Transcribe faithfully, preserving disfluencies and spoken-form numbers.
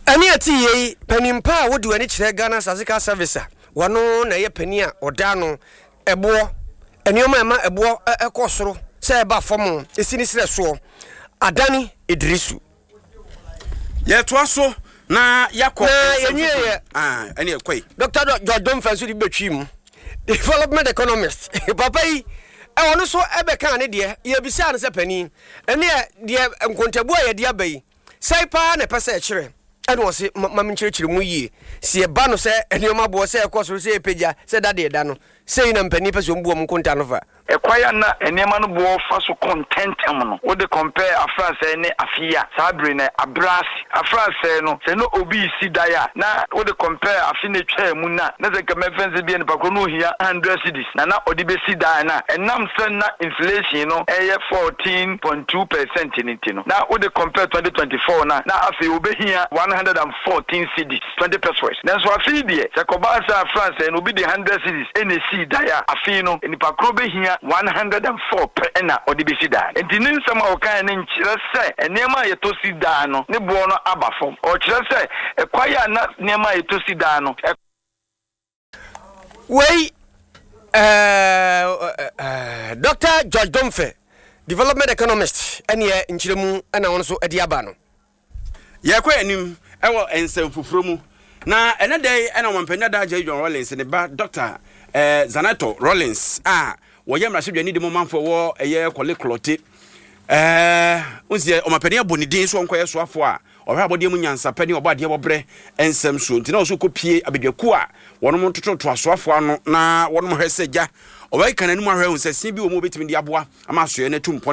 Ɛne ɛte yei, panimpa a wode w'ani kyerɛ Ghana Statistical Service a wɔno na ɛyɛ panin a ɔda no ɛboɔ nneɛma a ɛma ɛboɔ ɛkɔ soro sɛ ɛba fam ɛsi ne serɛ soɔ, Adane Idrisu. Yɛtoa so na yɛakɔ. Na yɛnwieɛ. Ɛne ɛkɔi. Doctor George Domfa nso de bɛtwi mu, development economist papa yi, ɛwɔ no so ɛbɛka ne deɛ. Yɛbisaa no sɛ, panin, ɛneɛ deɛ nkontabu a yɛde aba yi sɛe paa na ɛpɛ sɛ ɛkyerɛ? Ɛna ɔse ma menkyerɛkyerɛ mu yie. Sɛ yɛba no sɛ nneɛma boɔ sɛ ɛkɔ soro, sɛ ɛpagya, sɛ dadeɛ da no sɛi na mpanin pɛ sɛ ɔmbu ɔmo nkonta no fa. Ɛkwan a na nneɛma no boɔ fa so kɔ ntɛntɛm no, wode compare afransɛe ne afe yi a, saa bere no abrɛ ase. Afransɛe no, sɛ na obi si dan a, na wode compare afe no atwaa mu no a, na sɛ nka mɛmfa nsɛ bia nipa korɔ no ohia hundred cedis na na ɔde bɛsi dan no a, ɛnam sɛ na inflation no ɛyɛ fourteen point two percent no nti no, na wode compare twenty twenty four no a, na afei obɛhia one hundred and fourteen cedis twenty pesewas. Nanso afei deɛ, sɛ kɔbaa sɛ afransɛe no obi de hundred cedis ɛna esii dan a, afei no nipa korɔ bɛhia one hundred and four pɛ ɛna ɔde bɛsi dan. Nti ne nsɛm a ɔkae no nkyerɛ sɛ nneɛma a yɛtɔ si dan no ne boɔ no aba fam. Ɔkyerɛ sɛ ɛkwan a na nneɛma a yɛtɔ si dan no Wei ɛɛ ɛɛ Doctor George Domfe, development economist, ɛneɛ nkyerɛmu ɛna wɔn nso ɛde aba no. Yɛkɔ anim ɛwɔ nsɛm foforɔ mu, na ɛnɛ da yi ɛna ɔmampanin dada Jerry John Rawlings ne ba Doctor ɛɛ Zanetor Rawlings a wɔyɛ mmarahyɛdwani de mu manfoɔ wɔ ɛyɛ Korle Klottey ɛɛ nsi ɔmampanin abɔ ne din so ɔnkɔyɛ soafoɔ a ɔhwɛ abɔdeɛ mu nyansapɛ ne ɔbɔ adeɛ wɔbrɛ nsɛm so, nti na ɔso kɔpie abadwakuo a wɔnom tototo asoafoɔ ano na wɔnom hwɛ sɛ gya ɔbɛka n'anim ahwɛ hu sɛ sin bi wɔ mu wɔbɛtumi de aboa ama asoɛ no atu mpɔn.